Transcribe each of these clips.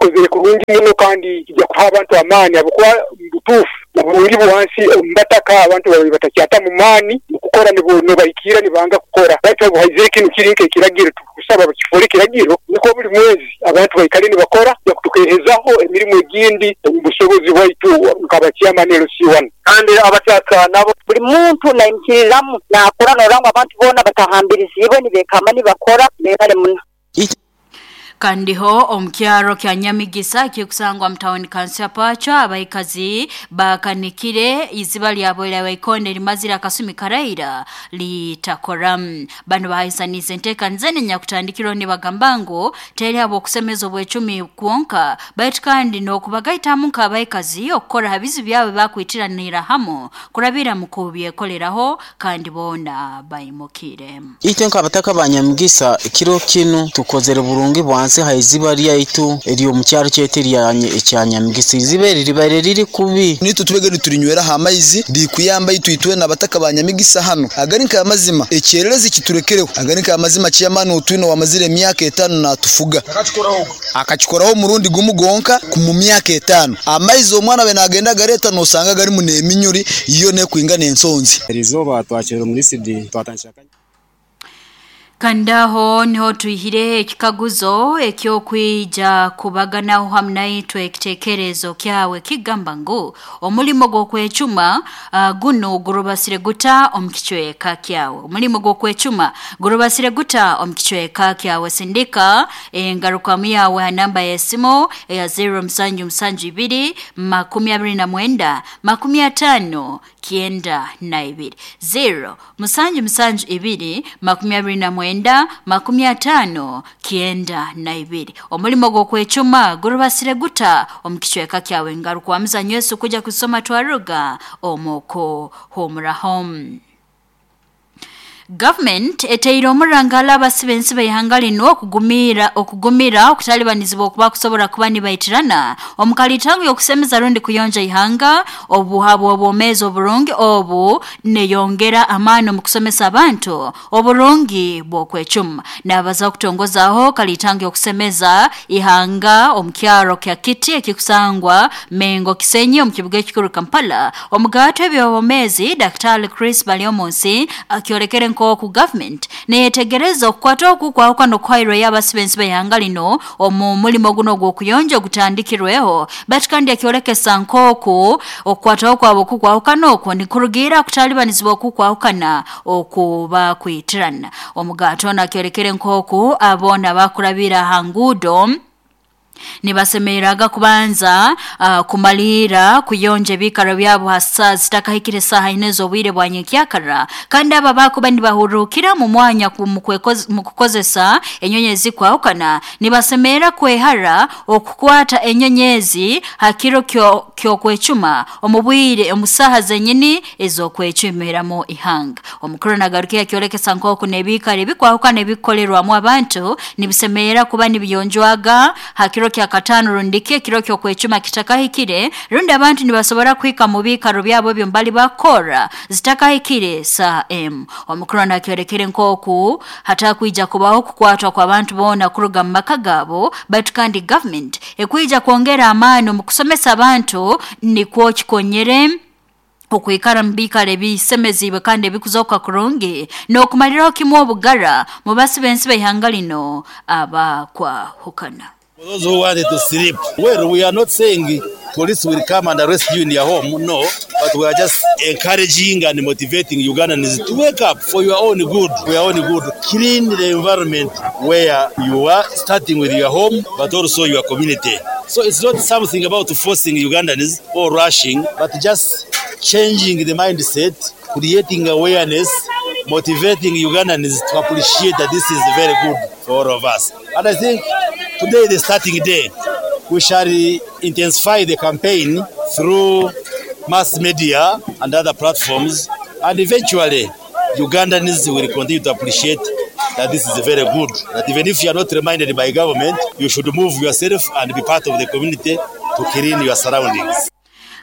Kikozere kurungi muno kandi kija kuha abantu amaani habwokuba mubutuufu oburungi bwansi omu bataka abantu babaire batakyatamu maani mukukora nobahikiira nibanga kukora baitu obu haizire kinu kiri nk'ekiragiro tukusaba bakifoole ekiragiro nukwo buli mwezi abantu baikale nibakora tukehezaho emirimu egindi omu busobozi bwaitu nkaba chairman LC1. Kandi abataka nabo. Buli muntu naimukiriramu nakora norora ngu abantu boona batahambiriziibwe nibekamba nibakora. Mwebale muno. Kandiho omu kyaro kya Nyamigisa ekikusangwa mu tawuni kanso ya Pachwa, abaikazi bakanikire iziba lyabo lya Waikonde limazire akasumi karaira litakora. Bano bahaisanize enteekaniza enyakutandikirweho nibagamba ngu teri habw'okusemeza obwecumi kwonka baitu kandi n'okubagaitamu nk'abaikazi okukora ha bizibu byabo bakwitiranira hamu kurabira mu kubyekoleraho kandi boona baimukire. Itwe nk'abataka ba Nyamigisa kiro kinu tukozere burungi bwansi ha iziba lyaitu ery'omu kyaro kyaitu ekya Nyamigisa. Iziba eri libaire riri kubi. Nitwe tubege niturinywera aha maizi rikuyamba itwe itwena abataka ba Nyamigisa hanu. Agari nk'amazima ekyererezi kiturekereho. Agari nk'amazima chairman otwine wamazire emyaka 5 natufuga. Akakikoraho omurundi gumu gonka mu myaka 5. Amaizi omwana we nagenda gareta nosanga garimu n'eminyuri iyo nekwinga n'ensonzi. Erizoba twakira muri CD twatandika. Kandaho niho tuihire ekikaguzo ekyokwija kubaganaho hamwe naitwe ekitekerezo kyawe kigamba ngu omulimo gw'okwecuma guno gurubasire guta omu kicweka kyawe. Omulimo gw'okwecuma gurubasire guta omu kicweka kyawe. Sindika engarukamu yawe ha namba y'esimu eya 0772 29 50 92 0 772 29 50 92. Omulimo gw'okwecuma gurubasire guta omu kicweka kyawe. Ngaruka muzanyo Yesu kuja kusoma twaruga omoko homurahom. Government eteire omurangala abasibe ensi b'ihanga lino okugumira okutalibanizibwa okuba kusobora kuba nibaitirana omukalitango y'okusemeza rundi kuyonja ihanga obuhabwa obwomeezi oburungi obu neyongera amaani omu kusomesa abantu oburungi bw'okwecuma. Nabaza kutongozaho kalitango y'okusemeza ihanga omu kyaro kya Kiti ekikusangwa Mengo Kisenyi omu kibuga ekikuru Kampala. Omugato eby'obwomeezi Dr. Chris Baryomunsi akiolekere nkoku government neyetegereza okukwata oku kwahuka n'okuhairwa y'abasibe ensi b'ihanga lino omu mulimo guno gw'okuyonja ogutandikirweho baitu kandi akiolekesa nkoku okukwataho kwabo okukwahukana okwo nikurugiira kutalibanizibwa okukwahukana okuba kwitirana. Omugato ono akiolekere nkoku aboona bakurabira ha nguudo nibasemereraga kubanza kumalira kuyonja ebikaro byabo hasa zitakahikire saha ine z'obwire bwa nyenkyakara kandi aba bakuba nibahurukira mu mwanya mu kukozesa enyonyezi kwahukana nibasemerera kwehara okukwata enyonyezi hakiro kyokwecuma omu bwire omu saha zenyini ez'okwecumiramu ihanga. Omukuru nagarukiya kyolekesa nk'oku n'ebikaro ebikwahukana ebikukorerwamu abantu nibisemerera kuba nibiyonjwaga hakiro kya katano rundiki ekiro ky'okwecuma kitakahikire rundi abantu nibasobora kuhika mu bikaro byabo ebyo mbali bakora zitakahikire saa m. Omukuru nakyolekere nk'oku hatakwija kubaho kukwatwa kw'abantu boona kuruga mu maka gaabo baitu kandi government ekwija kwongera amaani omu kusomesa abantu nikwo kikonyere okwikara mu biikaro ebisemeziibwe kandi ebikuzoka kurungi n'okumaliraho kimu obugara mu basibe ensi b'ihanga lino abakwahukana. For those who wanted to sleep, well, we are not saying police will come and arrest you in your home, no, but we are just encouraging and motivating Ugandans to wake up for your own good, for your own good. Clean the environment where you are, starting with your home, but also your community. So it's not something about forcing Ugandans or rushing, but just changing the mindset, creating awareness, motivating Ugandans to appreciate that this is very good for all of us. And I think today, the starting day, we shall intensify the campaign through mass media and other platforms, and eventually Ugandans will continue to appreciate that this is very good, that even if you are not reminded by government, you should move yourself and be part of the community to clean your surroundings.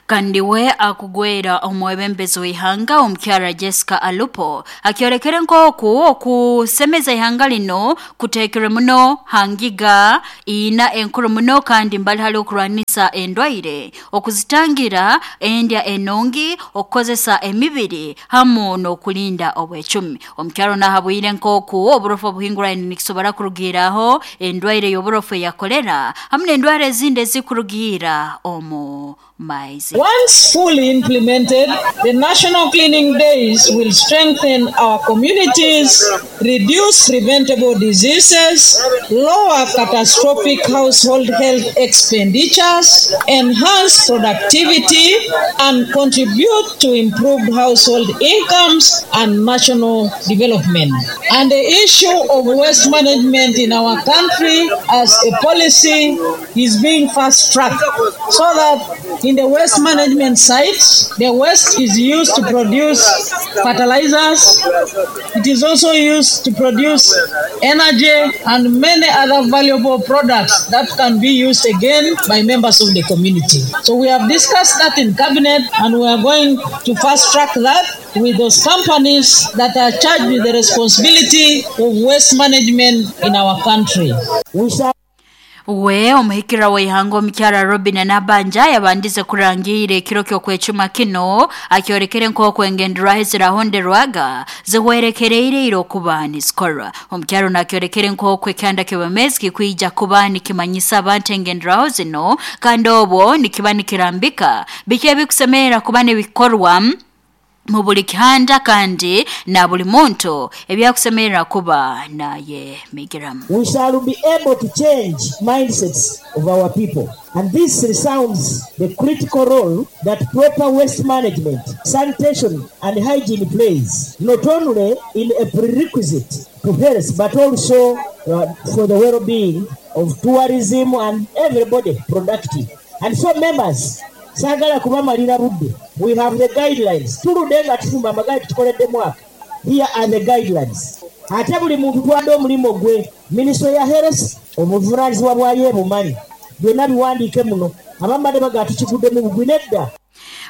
Kandi we akugwera omwebembezi w'ihanga omukyara Jessica Alupo akyorekere nk'oku okusemeza ihanga lino kuteekere muno hangiga ina enkuru muno kandi mbali hali okurwanisa endwaire, okuzitangira endya enungi, okukozesa emibiri hamu n'okulinda obwecumi. Omukyaro nahabwire nk'oku oburofu obuhinguraine nikisobora kurugiiraho endwaire y'oburofu eya kolera hamu n'endwara ezindi ezikurugiira omu maizi. Once fully implemented, the National Cleaning Days will strengthen our communities, reduce preventable diseases, lower catastrophic household health expenditures, enhance productivity, and contribute to improved household incomes and national development. And the issue of waste management in our country as a policy is being fast-tracked so that in the waste management sites, the waste is used to produce fertilizers, it is also used to produce energy and many other valuable products that can be used again by members of the community. So we have discussed that in cabinet and we are going to fast track that with those companies that are charged with the responsibility of waste management in our country. We omuhikira w'ihanga omukyara Robin Nabanja yabandize kurangiire ekiro ky'okwecuma kino akyorekere nk'oku engenderwaho ezirahonderwaga zihwerekereire okuba nizikorwa. Omukyaro nakyorekere nk'oku ekyanda ky'obwemezi kikwija kuba nikimanyisa abantu engenderwaho zino kandi obwo nikiba nikirambika biki ebikusemerera kuba nibikorwa mu buli kihanda kandi na buli muntu ebyakusemerera kuba naye migiramu. We shall be able to change mindsets of our people. And this resounds the critical role that proper waste management, sanitation and hygiene plays, not only in a prerequisite to health, but also for the well-being of tourism and everybody productive. And so members, saagala kubamalira budde. We have the guidelines. Tuludde nga tufumba amagaali tukoledde mwaka. Here are the guidelines. Ate buli muntu twadde omulimu gwe. Minisitule ya Health obuvunaanyizibwa bwayo ebumanyi. Byonna biwandiike muno. Abamu baga tukiguddemu bugwi nedda.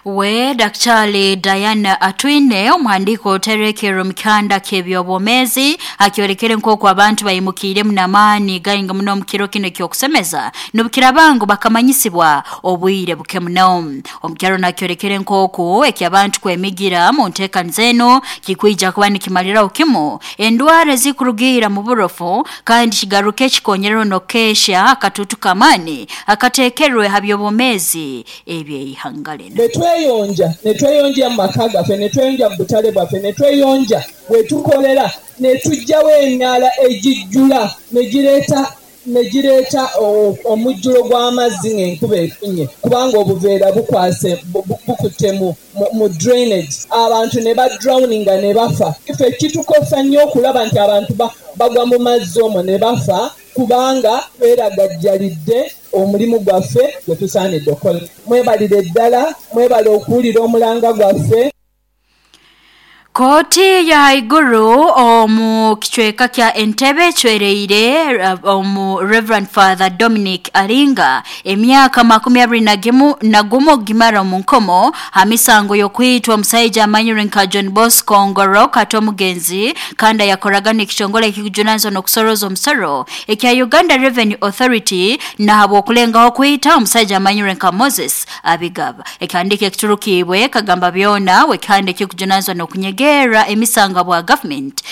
We Daktari Diana Atwine omuhandiiko oterekero mukanda ky'ebyobwomeezi akyorekere nk'oku abantu bayimukiiremu n'amaani gainga muno omu kiro kino eky'okusemeza n'obukirabangu bakamanyisibwa obwire buke muno. Omukyaro nakyorekere nk'oku eky'abantu kwemigira mu nteekaniza eno kikwija kuba nikimaliraho kimu endwara ezikurugiira mu burofu kandi kigaruke kikonyerero n'okukesha akatutu k'amaani akateekerwe ha byobwomeezi eby'eihanga lino. Netweyonja, netweyonja mu maka gaffe, netweyonja mu butale bwaffe, netweyonja wetukolera, netujjawo emyala egijjula negireeta omujjulo gw'amazzi ng'enkuba efunye kubanga obuveera bukwase bukutte mu drainage, abantu ne badrowninga ne bafa. Ffe kitukosa nnyo okulaba nti abantu bagwa mu mazzi omwo ne bafa kubanga tweragajjalidde omulimu gwaffe gwe tusaanidde okukola. Mwebalire ddala, mwebale okuwulira omulanga gwaffe. Kooti ya haiguru omu kichweka kya Entebbe chwereire omu Reverend Father Dominic Aringa emyaka 21 gimara mu nkomo hamisango yokwitwa omusajja amanyire nka John Bosco Ngoro kato omugenzi kandi yakoraga n'ekitongole ekikujunanizibwa n'okusoroza omusoro ekya Uganda Revenue Authority nahabwa okulengaho kwita omusajja amanyire nka Moses Abigaba. Ekihandiiko ekiturukiibwe kagamba byona wekihanda ekikujunanizibwa n'okunyega gera emisanga bwa government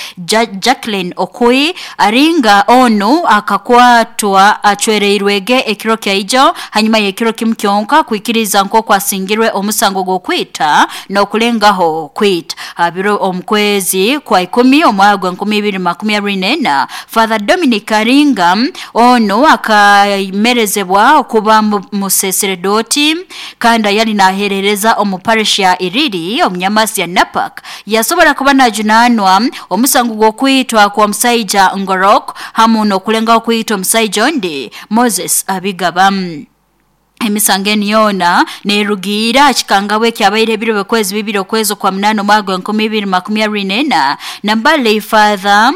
Jacqueline Okui Aringa onu akakwatwa achwereirwege ekiro kyaijo hanyuma y'ekiro kimu kyonka kuikiriza nk'oku asingirwe omusango gw'okwita n'okulengaho kwita abiro omukwezi kwa 10 omwaka 2024. Father Dominic Aringa onu akamerezebwa okuba museseredoti kandi yali naherereza omu parish ya Iriri omunyamasi ya Napak yasobola kuba najunanwa omusango gw'okwitwa kwa musaija Ngorok hamu n'okulengaho kwitwa omusaija ondi Moses Abigaba. Emisango eno yona nerugiira kikangabwe ekyabaire ebiro by'okwezi 2 okwezi kwa 8 omwaka 2024 nambale Father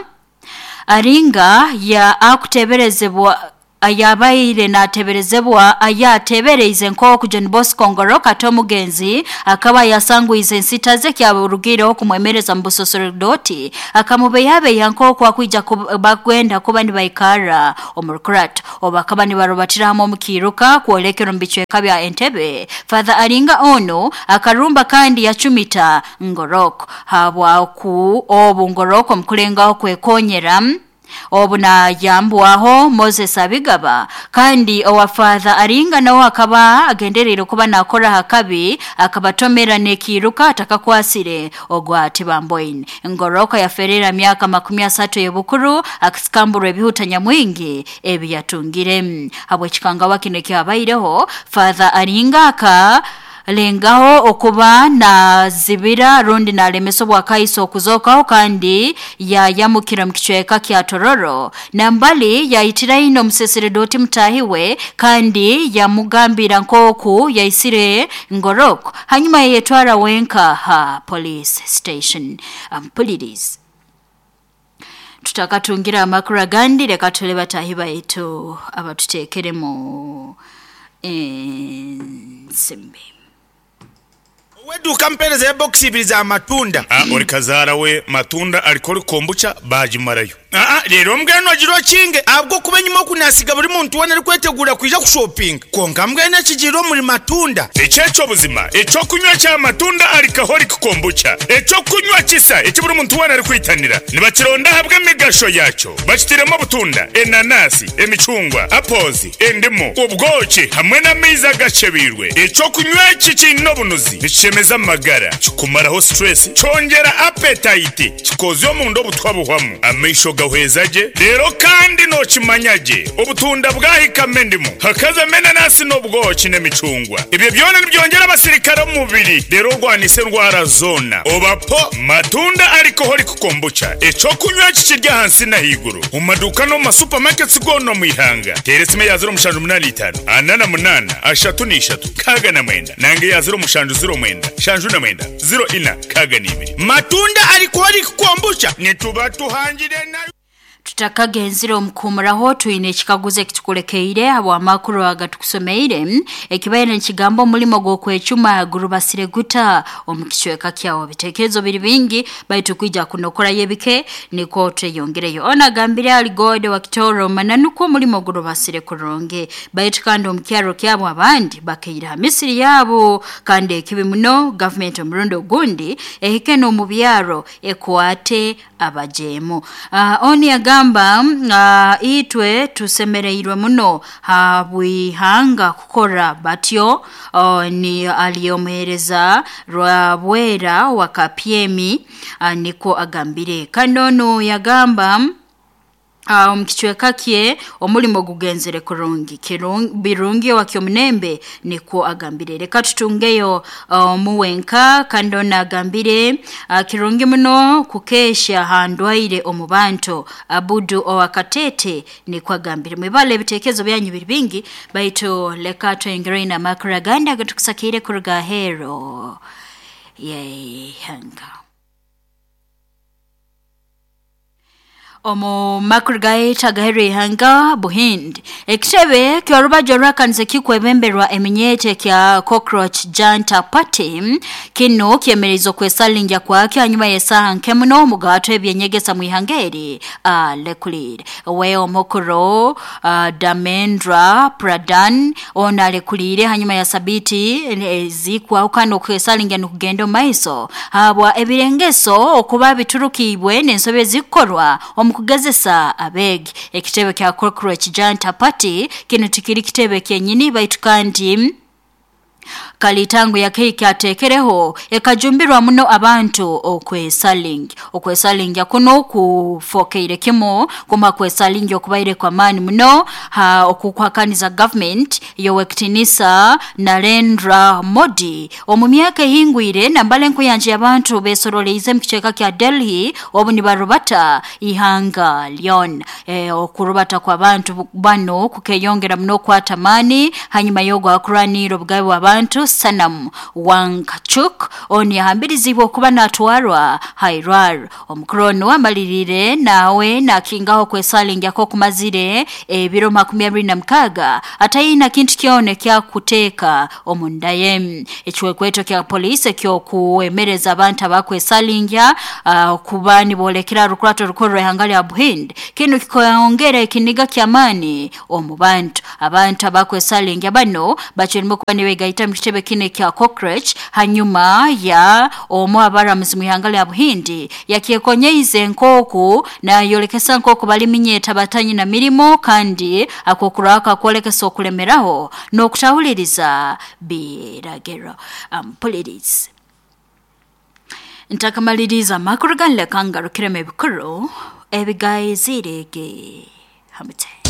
Aringa ya akuteberezebwa Ayabaire nateberezebwa ayatebereize nk'oku John Bosco Ngorok ate omugenzi akaba yasangwize ensita ze kyaburugireho kumwemereza mu busosorodoti akamubeyabeya nk'oku akwija bagwenda kuba nibaikara omu Rukurat obu akaba nibarubatira hamwe omu kiiruka kwolekera omu bicweka bya Entebbe. Father Aringa ono akarumba kandi yacumita Ngorok habwaku obu Ngorok omukulengaho kwekonyera obu nayambwaho Moses Abigaba kandi owa Father Aringa nawe akaba agendereire kuba nakora hakabi akabatomera nekiruka atakakwasire ogwa Tibamboine. Ngoroka yaferera myaka 30 y'obukuru akisikambura ebihuta nyamwingi ebi yatungire. Habw'ekikangawa kino ekyabaireho, Father Aringa aka lengaho okuba nazibira rundi nalemesa obwakaiso okuzokaho kandi yayamukira mu kicweka kya Tororo nambali yayitira ino omuseseredoti mutahiwe kandi yamugambira nk'oku yaisire Ngorok hanyuma yayetwara wenka ha police station. Ampulirize tutakatungira amakuru agandi, reka tule batahi baitu abatuteekeremu ensimbi. Ow'eduuka ampeereza ebokisi ibiri za matunda. Ori kazaara we matunda alikori kombucha baagimarayo. Reero mbwenu ogira okinge ahabw'okuba enyima oku naasiga buri muntu weena arikweteguura kwija kushopinga. Kwonka mbwenu ekigiire omuri matunda. Eki eky'obuzima, eky'okunywa kya matunda alcoholic kombucha, eky'okunywa kisa eki buri muntu weena arikwitanira. Nibakironda ahabw'emigasho yaakyo. Bakitairemu obutunda, enanasi, emicungwa, apples, endimu, obwoki hamwe n'amaizi agakyebeirwe. Eky'okunywa eki kiine obunuzi, nikishemeza amagara, kikumaraho stress, kyongyera appetite, kikozya omunda obutwa buhwamu, amaisho gahweza gye, reero kandi nookimanya gye obutunda bwahikamu endimu, hakazamu enanasi n'obwoki n'emicungwa. Ebyo byona nibyongyera abasirikare omu mubiri reero orwanise endwara zoona. Oba po matunda alcoholic kombucha, eky'okunywa eki kiri ahansi n'ahaiguru omu maduuka n'omu ma supermarkets goona omu ihanga. Teera esimu eya 0785 48 33 69 nanga eya 0709 79 04 62. Matunda alcoholic kombucha nituba tuhangire nayo. Tutakagenzire omu kuhumuraho, twine ekikaguzo ekitukulekeire habw'amakuru aga tukusomeire ekibaire nikigamba omulimo gw'okwecuma gurubasire guta omu kicweka kyawe. Ebitekerezo biri bingi baitu kwija kunokorayo ebike nikwo tweyongereyo. Ono agambire ali God wa Kitoro mananukwo omulimo gurubasire kurungi, baitu kandi omu kyaro kyabo abandi bakaire ha misiri yabo, kandi ekibi muno gavumenti omurundi ogundi ehike n'omu byaro ekwate abajeemu. Onu yagamba itwe tusemereirwe muno habw'ihanga kukora batyo. Ni ali omuheereza Rwabwera wa Kapyemi, nikwo agambire. Kandi onu yagamba omu kicweka kye omulimo gugenzere kurungi birungi owakyomunembe nikwo agambire. Reka tutungeyo omuwenka kandi ono agambire kirungi muno kukesha handwaire omu bantu Abudu owakatete nikwo agambire. Mwibale ebitekerezo byanyu biri bingi baitu leka tweyongereyo n'amakuru agandi agatukusakiire kuruga aheeru y'eihanga. Omu makuru gaitu agaheru ihanga Buhindi, ekitebe ky'orubaju orwakanize kikwebemberwa eminyete kya Cockroach Janta Party kino kyemererize okwesalingya kwakyo hanyuma y'esaaha nke muno omugato ebyenyegesa mu ihanga eri alekulire. We omukuru Damendra Pradhan ono alekuliire hanyuma ya sabiti ezikwahukana okwesalingya nukugenda omu maiso habwa ebirengeso okuba biturukibwe n'ensobi ezikukorwa omu kugezesa abeegi. Ekitebe kya Cockroach Janta Party kinu tikiri kitebe kyenyini baitu kandi kalitango yakehika atekereho ekajumbirwa muno abantu okwesalingi. Okwesalingya kuno kufokeire kimu kuma kwesalingya okubaire kwa maani muno okukwakaniza government yowekitinisa Narendra Modi. Omu myaka ehingwire nambale nkuyanja abantu besoroleize mu kicweka kya Delhi obu nibarubata ihanga lyon. Okurubata kw'abantu bano kukeyongera muno okwata maani hanyuma y'ogwakuranira obugabe bw'abantu abantu Sanam Wangchuk onu yahambirizibwe okuba natwarwa hairwaro. Omukuru onu amalirire nawe nakingaho kwesalingyako kumazire ebiro 26 atayina kintu kyona ekyakuteeka omunda ye. Ekiwekweto kya polisi ekyokuwemereza abantu abakwesalingya kuba nibolekera rukurato rukuru rw'ihanga lya Buhindi kinu kikongera ekiniga ky'amaani omu bantu. Abantu abakwesalingya bano bakirimu kuba nibegaita mu kitebe kinu ekya Cockroach hanyuma ya omu abaramuzi mu ihanga lya Buhindi yakyekonyeize nk'oku nayolekesa nk'oku baliminyeta batanyina mirimo kandi akokuraka kwolekesa okulemeraho n'okutahuliriza biragiro. Ampulirize ntakamaliriza amakuru ganleka ngarukiremu ebikuru ebigayizirege hamute.